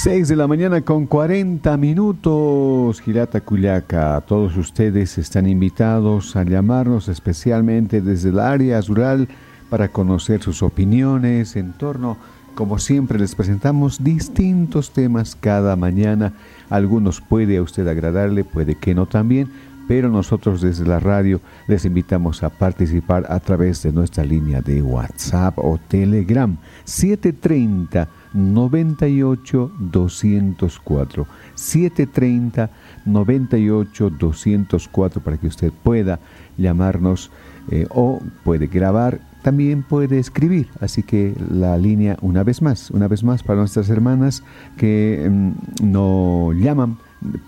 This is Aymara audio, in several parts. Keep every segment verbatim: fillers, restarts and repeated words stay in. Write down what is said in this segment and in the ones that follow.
Seis de la mañana con cuarenta minutos, Jilata Kullaka. Todos ustedes están invitados a llamarnos, especialmente desde el área rural, para conocer sus opiniones en torno, como siempre, les presentamos distintos temas cada mañana. Algunos puede a usted agradarle, puede que no también, pero nosotros desde la radio les invitamos a participar a través de nuestra línea de WhatsApp o Telegram, siete treinta, noventa y ocho, doscientos cuatro, siete treinta, noventa y ocho, doscientos cuatro, para que usted pueda llamarnos, eh, o puede grabar, también puede escribir. Así que la línea, una vez más, una vez más, para nuestras hermanas que, mm, no llaman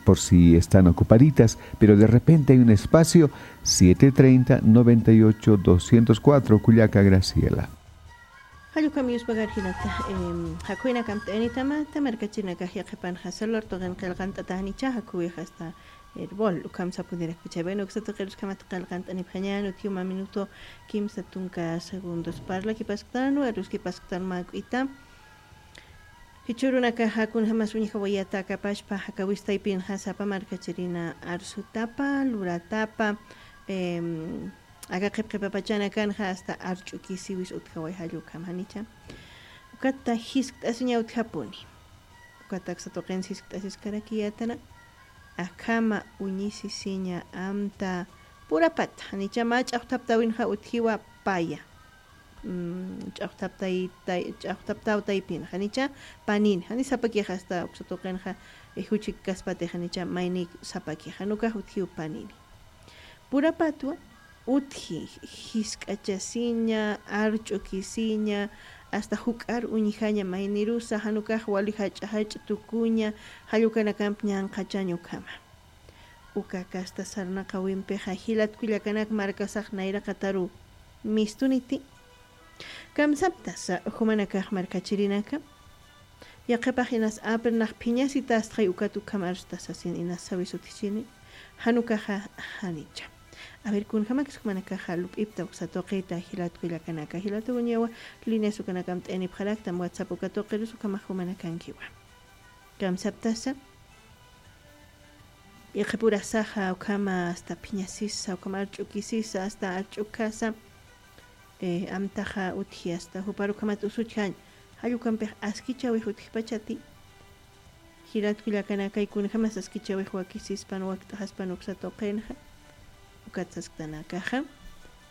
por si están ocupaditas, pero de repente hay un espacio, siete treinta, noventa y ocho, doscientos cuatro, Kullaka Graciela. Jallukam yuspagar jinata, em, jakuynakam t'aynitamata markachinakax yaqhipanxa celular tuqin qillqant'ata janicha jakuwix hasta herbol, ukham sapunirakpicha. Bueno, uksa tuqirus ukhamat qillqant'anipxañan, utjiw mä minuto kimsa tunka segundos parlakipasktan, waruskipasktän mä k'ita. Jichhürunakaxa kunjamas uñjawayata akapachpa, jakawistaypinxa sapa markachirina arsutapa, luratapa, em, aka qhipqipapachanakanxa hasta arch'ukisiwis utjaway jallukam janicha. Ukata jiskt'asiña utjapuni. Ukata aksa tuqinsa jiskt'asiskarakiyätana. Akhama uñisisiña amta purapata. Janicha mä ch'axthaptäwinxa utjiwa paya. Mm, ch'axthaptay-, tay-, ch'axthaptäw taypin. Janicha panini. Jani sapakix hasta uksa tuqinxa, eh, juchikaspatix janicha maynik sapakix. Jan ukax utjiw panini. Purapatwa utji, jisk'achasiña, arch'ukisiña, hasta juk'ar uñjaña maynirusa, jan ukax wali jach'a jach'a tukuña, jall ukanakamp ñanqhachañ ukhama. Uka kasta sarnaqäwimpixa jilat kullakanak markasax nayraqataru mistuniti. Kamsaptasa jumanakax markachirinaka. Yaqhipax inas apirnax phiñasitastxay ukat ukham arstasa sasin inas sawis utjchini. Jan ukaxa janicha. A ver, kunjamakis jumanakaxa lup'ipta uksa tuqita jilat kullakanaka. Jilat uñawa, líneas ukanakam t'ayanipxaraktam, WhatsApp uka tuqirus ukhamax jumanakankiwa. Kamsaptasa. Yaqhipurasaxa ukhama hasta phiñasisa, ukhama arch'ukisisa, hasta arch'ukasa, eh, amtaxa utji hasta jupar ukhamat usuchjañ, jall ukampix askichäwix utjpachati. Jilat kullakanakay kunjamas askichäwix wakisispan, wakt'xaspan uksa tuqinxa, ukat sasktanakaxa,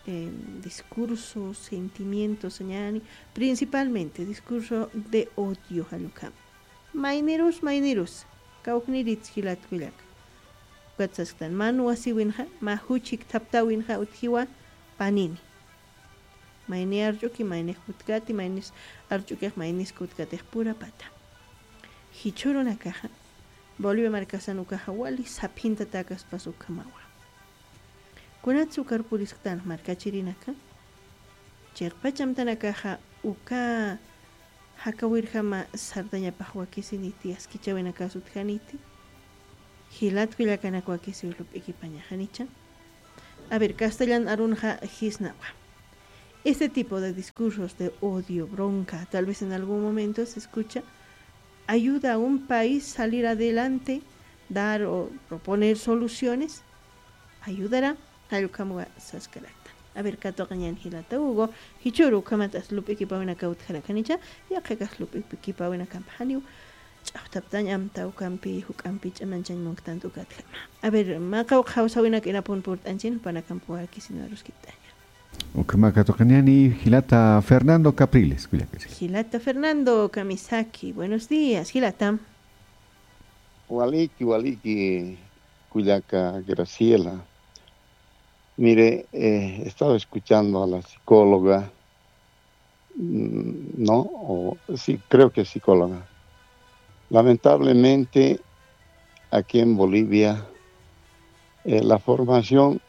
em, discurso, sentimiento sañäni, principalmente discurso de odio jall ukham. Maynirus, maynirus, kawkniritsa jilat kullaka. Ukat sasktan, mä nuwasiwinxa, mä juchik thaptäwinxa utjiwa panini. Mayni arch'uki, maynix kutkati, maynis arch'ukix, maynis kutkatix purapata. Jichhürunakaxa, Bolivia markasan ukaxa wali saphintatäkaspas ukhamawa. Kunatsa ukar purisktan markachirinaka, chiqpach amtanakaxa uka jakawirjama sartañapax wakisiniti, askichäwinakas utjaniti, jilat kullakanak wakisiw lup'ikipañax janicha. A ver, castellan arunxa jisnawa. Este tipo de discursos de odio, bronca, tal vez en algún momento se escucha, ayuda a un país salir adelante, dar o proponer soluciones, ayudará, jall ukham saskaraktan. A ver, katuqañän jilata Hugo, jichhüru ukhamat as lup'ikipäwinaka utjarakanicha, yaqhikax lup'ikipäwinakamp janiw ch'axthaptañ amta ukampi, juk'ampi ch'amanchañ munktant ukatjama. A ver, mä qawqha jawsäwinak irapun purt'añchin, jupanakamp wakisin aruskipt'aña. Ukhama katuqañäni jilata Fernando Capriles, kullakasi. Jilata Fernando, kamisaki, buenos días, jilata. Waliki, waliki, kullaka Graciela. Mire, eh, he estado escuchando a la psicóloga, mm, ¿no? O, sí, creo que es psicóloga. Lamentablemente, aquí en Bolivia, eh, la formación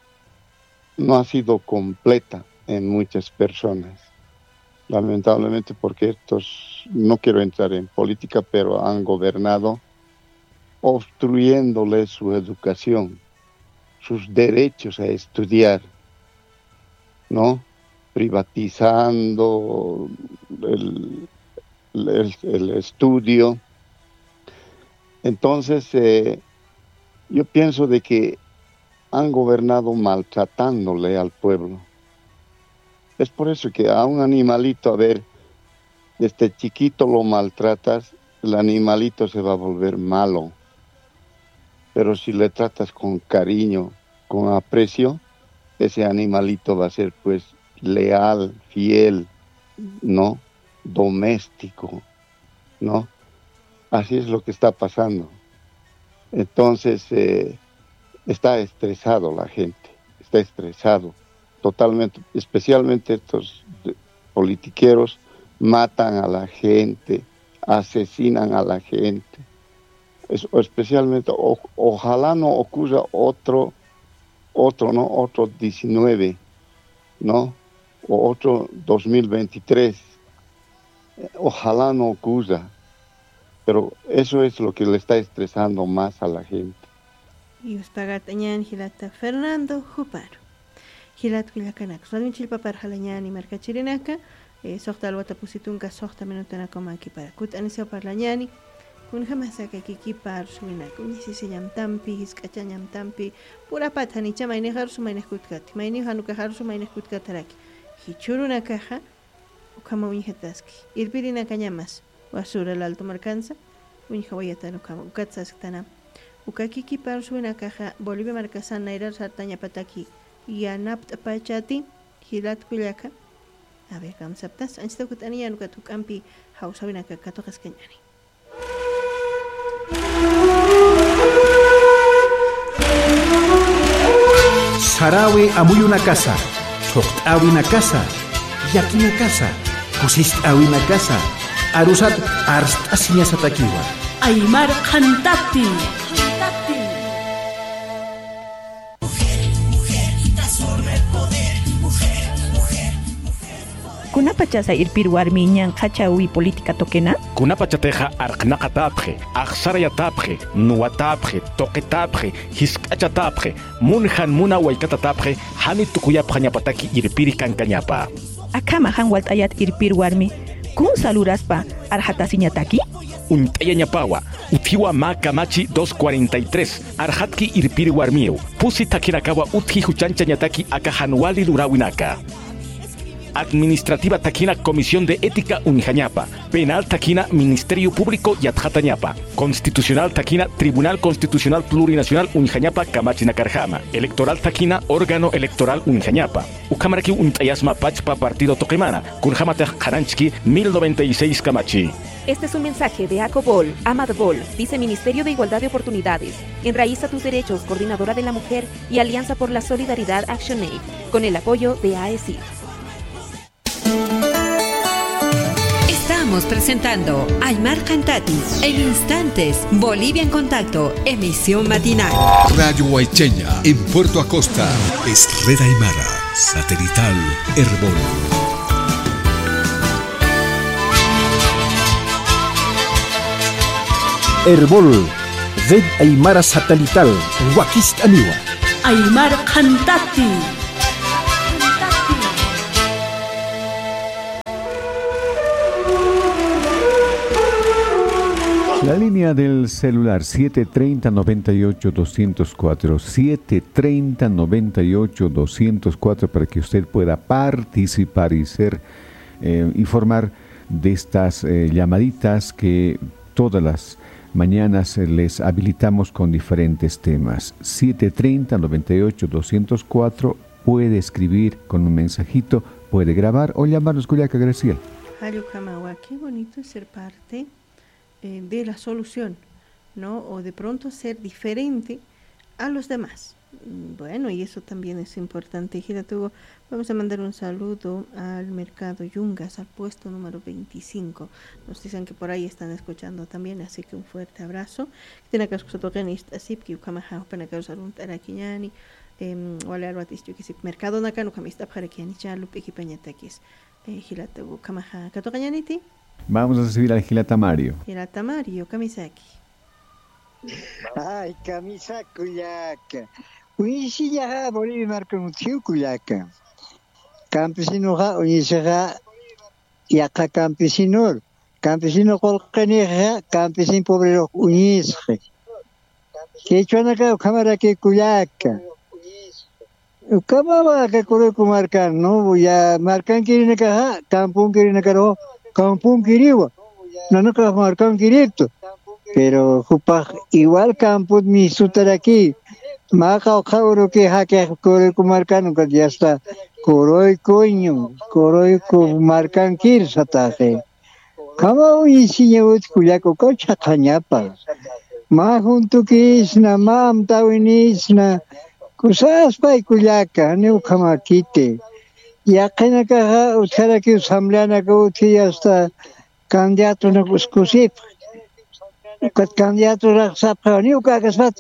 no ha sido completa en muchas personas. Lamentablemente, porque estos, no quiero entrar en política, pero han gobernado obstruyéndole su educación, sus derechos a estudiar, ¿no? Privatizando el, el, el estudio, Entonces, eh, yo pienso de que han gobernado maltratándole al pueblo. Es por eso que a un animalito, a ver, desde chiquito lo maltratas, el animalito se va a volver malo. Pero si le tratas con cariño, con aprecio, ese animalito va a ser, pues, leal, fiel, ¿no? Doméstico, ¿no? Así es lo que está pasando. Entonces, eh, está estresado la gente, está estresado totalmente, especialmente estos de-, politiqueros matan a la gente, asesinan a la gente. Es-, especialmente, o-, ojalá no ocurra otro, otro, ¿no? Otro diecinueve, ¿no? O otro dos mil veintitrés. Ojalá no ocurra, pero eso es lo que le está estresando más a la gente. Yuspagart'añäni jilata Fernando, juparu. Jilat kullakanak, sasmin chillpaparxalañäni markachirinaka, eh, suxta alwata pusi tunka, suxta minutanakaw mäkipara. Kut'anisiw parlañäni, kunjamasaka kikipar suwinaka, uñjasisiñamtampi, jisk'achañamtampi, purapat janicha maynixa arusu maynixa kutkati, maynixa jan ukaxa arusu maynixa kutkataraki. Jichhürunakaxa, ukhama uñjataski. Irpirinakañamas, basura laltu markansa, uñjawayatan ukhama, ukat sasktanam. Uka kikipar suwinakaxa, Bolivia markasan nayrar sartañapataki, yanapt'pachati, jilat kullaka. A ver, kamsaptas, anchita kut'aniñäni ukat juk'ampi jawsäwinaka katuqaskañäni. Saräwi amuyunakasa, thuqt'äwinakasa, llakinakasa, kusist'äwinakasa, arusat arst'asiñasatakiwa. Aymar qhantati. Kunapachasa irpir warmi ñanqhachawi política tuqina? Kunapachatixa arqnaqatäpxi, axsarayatäpxi, nuwatäpxi, tuqitäpxi, jisk'achatäpxi, mun jan muna waykatatäpxi, jani tukuyapxañapataki irpiri kankañapa. Akhama jan walt'ayat irpir warmi, kunsa luraspa arxatasiñataki? Uñt'ayañapawa, utjiwa mä kamachi dos cuarenta y tres, arxatki irpir warmiw, pusi thakhinakawa utji juchanchañataki aka jan wali luräwinaka. Administrativa thakina Comisión de Ética uñjañapa, penal thakina Ministerio Público yatxatañapa, constitucional thakina Tribunal Constitucional Plurinacional uñjañapa kamachinakarjama, electoral thakina órgano electoral uñjañapa. Ukhamarakiw uñt'ayasma pachpa partido tuqimana, kunjamatix qhananchki mil noventa y seis kamachi. Este es un mensaje de Acobol, Amadbol, Viceministerio de Igualdad de Oportunidades, Enraiza tus Derechos, Coordinadora de la Mujer y Alianza por la Solidaridad Action Aid, con el apoyo de AECID. Estamos presentando Aymar Qhantati. En instantes, Bolivia en Contacto, emisión matinal. Radio Waychaña, en Puerto Acosta, es Red Aymara, satelital, Erbol. Erbol, Red Aymara Satelital, wakist'aniwa. Aymar Qhantati. La línea del celular, siete treinta, noventa y ocho, doscientos cuatro, siete treinta, noventa y ocho, doscientos cuatro, para que usted pueda participar y ser, eh, informar de estas, eh, llamaditas que todas las mañanas, eh, les habilitamos con diferentes temas. Siete treinta, noventa y ocho, doscientos cuatro, puede escribir con un mensajito, puede grabar o llamarnos, kullaka Graciela. Jall ukhamawa, qué bonito es ser parte, eh, de la solución, ¿no? O de pronto ser diferente a los demás. Mm, bueno, y eso también es importante. Jilatuw, vamos a mandar un saludo al mercado Yungas, al puesto número veinticinco. Nos dicen que por ahí están escuchando también, así que un fuerte abrazo. Khitinakasa tuqin ist'asipki, ukhamaxa jupanakarusa arunt'arakiñäni, em, wali alwat ist'ukisipki mercadonakan, ukham ist'apxarakiñäni, chä lup'ikipañatakis. Eh, jilatuw, ukhamaxa katuqañäniti. Vamos a recibir al jilata Mario. Jilata Mario, kamisaki. Ay, kamisaki kullaka. Uñisiñaxa Bolivia markan utjiw kullaka. Campesinoxa uñisixa yaqha campesinor. Campesino qullqinixa, campesino pobrerux uñisqi. Qhichwanaka ukhamaraki kullaka. Ukhamama aka Kuruyku markan, ¿no? Ya markankirinakaxa, camponkirinakaru, camponkiriwa. Nanakax markankiriptu. Pero jupax igual campot mistutaraki. Mä qawqha uruki jaqix Kuruyku markan, ukat ya está. Kuruykuñu, Kuruyku markankir sataxi. Ukhama uñisiñawit kullaka ukaw chhaqhañapa. Mä juntukisna, mä amtawinisna, kusaspay kullaka, janiw ukhamakiti. Yaqinakaxa utjarakiw asambleanaka utji hasta candidatonaka uskusipxi. Ukat candidatoraq sapxi, janiw uka akaspat,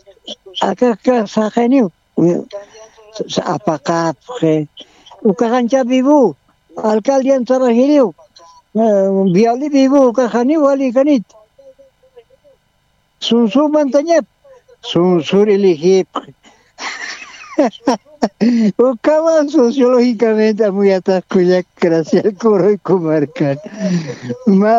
aka, aka saqiniw. Apaqapxi. Ukaxancha vivo, alcaldian trabajiriw. Viali vivo, ukaxaniw wali kanit. Sunsu mantañap, sunsur elegipxi. Ukawan sociológicamente amuyatax kullak Graciel Kuruyku markan. Ma,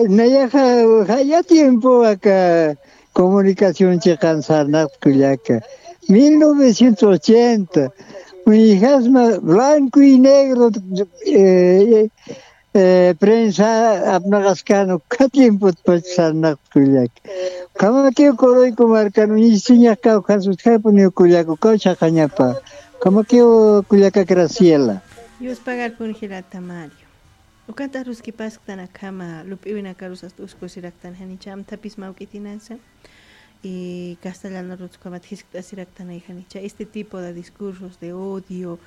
nayaxa, jaya tiempo aka comunicación chiqan sarnaqta kullaka. Mil novecientos ochenta, uñjasma blanco y negro, eh, eh, prensa apnaqaskan uka tiempotpach sarnaqta kullaka. Ukhamakiw Kuruyku markan uñisiñax kawkhans utjapuniw kullaka, ukaw chhaqhañapa. Ukhamakiw kullaka Graciela. Dios pagar kun jilata Mario. Ukat aruskipasktan akhama lup'iwinakarus hasta uskusiraktan janicha amthapis mawk'itinasa. Y castellanarus ukhamat jiskt'asiraktanay janicha. Este tipo de discursos de odio,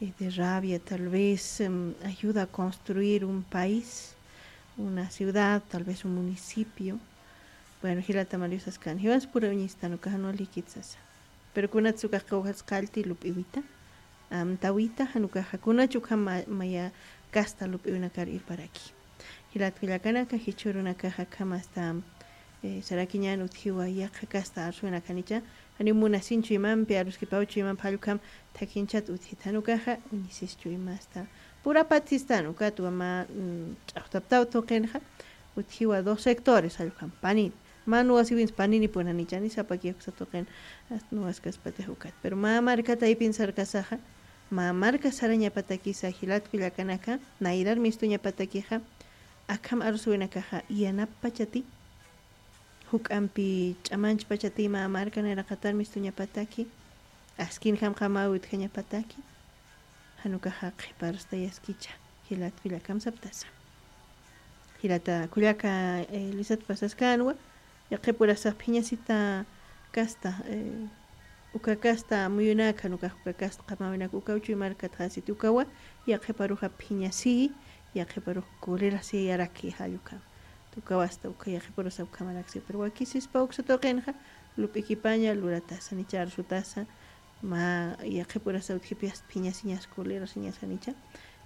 eh, de rabia, tal vez, em, ayuda a construir un país, una ciudad, tal vez un municipio. Bueno, jilata Mario saskan. Jiwas pura uñistan uka jan walikit sasa. Pero kunatsa ukax qillqasqallti lup'iwita, amtawita, jan ukaxa kunach ukham ma-, maya kasta lup'iwinakar irparaki. Jilat kullakanaka, jichhürunakaxa akham hasta, eh, sarakiñän utjiwa yaqha kasta arsuwinak janicha, janiw munasin chuymampi, aruskipaw chuymampi, jall ukham thakhinchat utjit, jan ukaxa uñisis chuymasta. Purapat sistan, ukatwa mä, mm, ch'axtaptaw tuqinxa, utjiwa dos sectores, jall ukham, panin. Mä nuwasiwins paninipun janichani sapaki uksa tuqin, hasta nuwaskaspatix ukat. Pero mä marka taypin sarkasaxa, mä marka sarañapatakisa jilat kullakanaka, nayrar mistuñapatakixa, akham arsuwinakaxa yanapachati, juk'ampi ch'amanchpachati mä marka nayraqatar mistuñapataki, askinjam qamaw utjañapataki, jan ukaxa qhiparus tayaskicha, jilat kullakam saptasa. Jilata kullaka, eh, lisat pasaskänwa, yaqhipurasax phiñasita kasta, eh, uka kasta muyunak, jan ukax uka kasta qamawinak, ukaw chuy markat jasit ukawa, yaqhiparuxa phiñasi, yaqhiparux colerasiyaraki jall ukham. Ukaw hasta uka yaqhipurasa ukhamaraksi, pero wakisispa uksa tuqinxa, lup'ikipaña luratasa, nicha arsutasa, mä yaqhipurasa utjipi hasta phiñasiñas, colerasiñas janicha,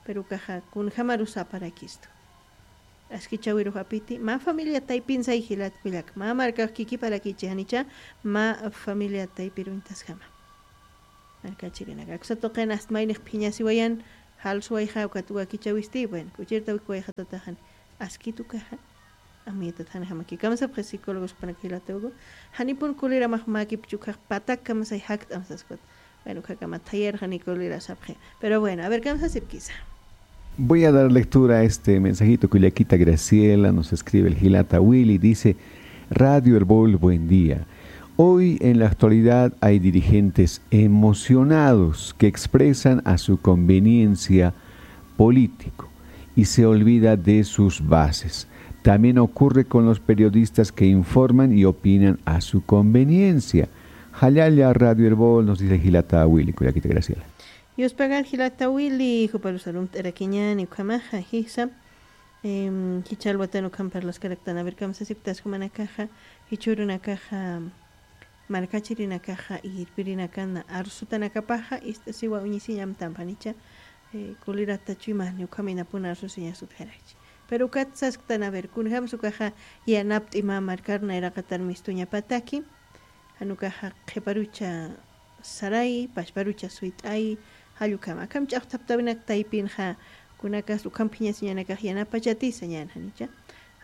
pero ukaxa kunjamarusa aparakistu. Askichäwirux apiti, mä familia taypinsay jilat kullak, mä markax kikiparakichi janicha, mä familia taypir uñtasjama. Markachirinaka, aksa tuqin hasta maynix phiñasiwayan, jalsuwayxa, ukat wakichäwisti, bueno, k'uchirta wikwayxatataxan, askit ukaxa, amuytat janjamaki. Kamsapxi psicólogos jupanaka jilata Hugo, janipun coleramax mäkipchi ukax patak kamsay jakt'am saspat. Bueno, ukhakama thayarxani colera sapxi. Pero bueno, a ver, kamsasipkisa. Voy a dar lectura a este mensajito. Kullakita Graciela, nos escribe el jilata Willy, dice: Radio El Bol, buen día. Hoy en la actualidad hay dirigentes emocionados que expresan a su conveniencia político y se olvida de sus bases. También ocurre con los periodistas que informan y opinan a su conveniencia. Jallalla Radio El Bol, nos dice jilata Willy, kullakita Graciela. Yuspagan jilata Willy, juparus arumt'arakiñäni ukhamaxa, jisa, em, jichha alwatan ukham parlaskaraktan, a ver, kamsasiptas jumanakaxa, jichhürunakaxa, markachirinakaxa, irpirinakana, arsutanakapaxa, ist'asiwa uñisiñ amtampa janicha, eh, colerata chuymani, ukhaminapun arsusiñas utjarakchi. Pero ukat sasktan, a ver, kunjams ukaxa yanapt'i mä markar nayraqatar mistuñapataki, jan ukaxa qhiparucha saray, pachparucha suyt'ay, jall ukham. Akham ch'axtaptawinak taypinxa, kunakas ukham phiñasiñanakax yanapachati sañän janicha.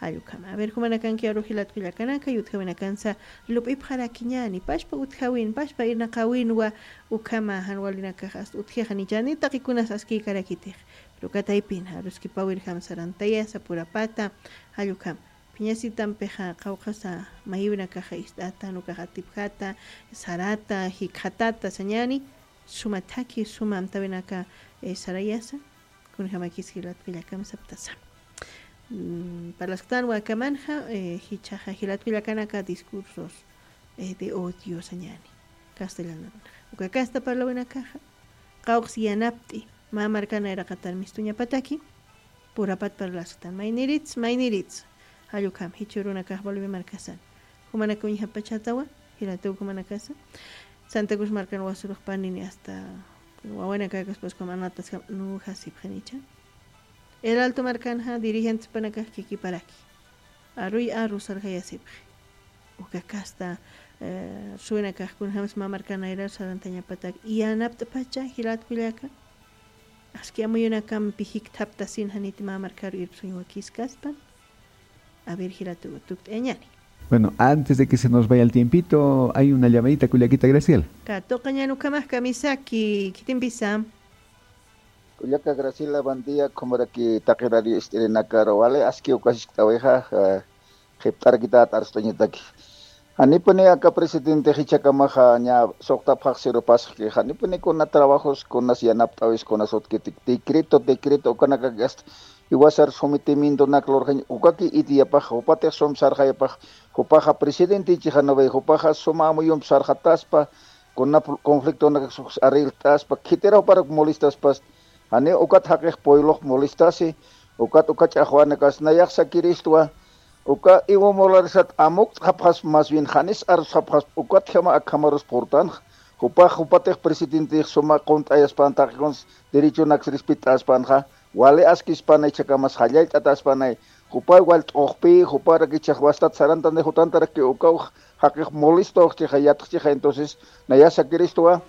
Jallukama. A ver, jumanakanki aru jilat kullakanaka, yutjawinakansa lup'ipxarakiñani, pashpa utjawin, pashpa irnaqawinwa, ukama jan walinakax hasta utjixa nichani, taqikunas askïkarakitix. Pero kataypin, aruskipawirjam sarantayasa purapata, jallukam. Phiñasitampixa qawqhasa mayiwinakaxa ist'ata, nukax atipjata, sarata, jikxatata, sañani, suma thaki, suma amtawinaka, eh, sarayasa, kunjamakis jilat kullakan saptasa. Mm, parlasktan wakamanxa, eh, jichhaxa jilat kullakanaka discursos, eh, de odio sañani, castellano. Uka kasta parlawinakaxa, qawqs yanapt'i, mä markan nayraqatan mistuñapataki, purapat parlasktan. Maynirits, maynirits. Jallukam, jichhürunakax Bolivia markasan. Jumanaka uñjapachatawa, jilatuw jumanakasa. Santa Cruz markan wasurux panini hasta wawanakakaspas como anatas nuja sipxinicha. El Alto markanxa dirigentes panakax kikiparaki. Aruy aru sarjayasipxi. Uka kasta, eh, suwinakax kunjams mä markan nayrar sarantañapatak. Yanapt'pacha jilat kullaka. Aski amuyunakampi jikthaptasin janiti mä markaru irpsuñ wakiskaspan. A ver, jilatu tukt'añani. Bueno, antes de que se nos vaya el tiempito, hay una llamadita, kullakita Graciela. Katuqañan ukhamax kamisaki, khitimpisa. Kullaka Graciela, buen día, khumaraki taqi radio ist'irinakaru, wali aski ukasikt'awixa, eh, qhipt'arakität arst'añataki. Janipuni aka presidente jichhakamaxa ña suqtapxax sirupasxki, janipuni kuna trabajos, kunas yanapt'awis, kunas utkitik, decreto, decreto, ukanakaki hasta jiwasar sometimientonak lurxañ, ukaki ideapax, jupatix sum sarxayapax, jupaxa presidente ichixanaway, jupaxa suma amuyump sarxataspa, kuna conflictonak arregltaspa, khitira juparak molestaspas, jani ukat jaqix pueblox molestasi, ukat uka ch'axwanakas nayax sakiristwa, uka Evo Moralesat amukt'xapxasp, más bien janis arsxapxasp, ukatjama akhamarus purtanx, jupax jupatix presidentix suma qunt'ayaspan taqikuns derechonaks respet'aspanxa, wali askispanay, jichhakamas jallallt'ataspanay, jupay wal t'uxpi, juparak jichhax wastat sarantanay, jutantaraki ukaw jaqix molestox chixa, yatx chixa, entonces, naya sakiristwa,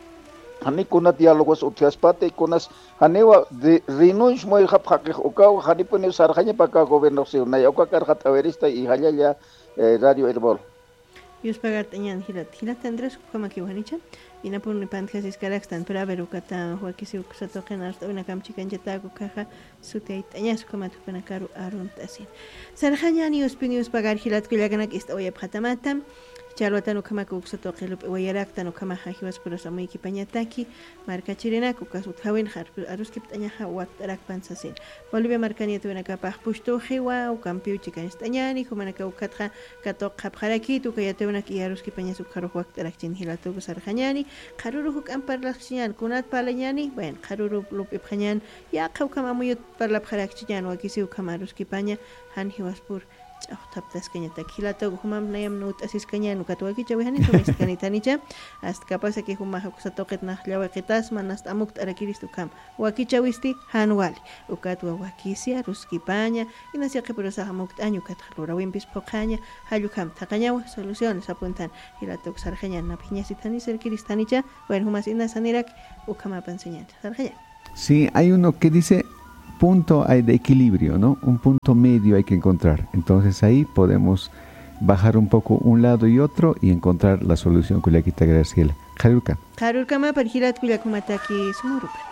jani kuna diálogos utjaspati, kunas, janiwa de, renuncia muyxap jaqix ukaw, janipuniw sarxañapa aka gobiernox siw, naya uka karxat'awirista, y jallalla, eh, Radio Erbol. Yuspagart'añan jilat, jilat Andrés, ukhamakiw janicha, inapuni pantjasiskarakstan, pero a ver, ukata, wakisiw kusatuqin arst'awinakam chikanchatäk ukaxa, sutiyayt'añas ukhamat jupanakaru arunt'asin. Sarxañani uspini uspagar jilat kullakanak ist'awayapxatamata. Challwatan ukhamak uksa tuqi lup'iwayaraktan ukhamaxa jiwaspuras amuykipañataki. Markachirinak ukas utjawinxa aruskipt'añaxa wakt'arakpan sasin. Bolivia markan yatiyawinakapax pustuxiwa, ukampiw chikañst'añani, jumanaka ukatxa katuqxapxarakit, uka yatiyawinak iyaruskipañas ukxarux wakt'arakchin jilatuku sarxañani. Qharürux juk'amp parlaxchiñan, kunat parlañani, bueno, qharürux lup'ipxañan, yaqha ukham amuyut parlapxarakchiñan, wakisiw ukham aruskipaña, jan jiwaspur ch'axthaptaskañatak. Jilatuku jumamp nayam nut'asiskañan, ukat wakichawi jani sumistkanitanicha, hasta capaz que jumax uksa tuqit nax llawiqitasma, nasta amukt'arakirist ukham. Wakichawisti jan wali. Ukatwa wakisi aruskipaña, inas yaqhipurusax amukt'añ, ukatxa lurawimpis phuqhaña, jall ukham thaqhañawa, soluciones apuntan, jilatuku sarxañan, nap jiñasit jani sarkirist janicha, bueno, jumas inas janirak, ukhamapan sañan, sarxañan. Sí, hay uno que dice, punto hay de equilibrio, ¿no? Un punto medio hay que encontrar. Entonces ahí podemos bajar un poco un lado y otro y encontrar la solución, kullakita Graciela. Qharürkam. Qharürkamapan jilat kullak jumataki sumurupar.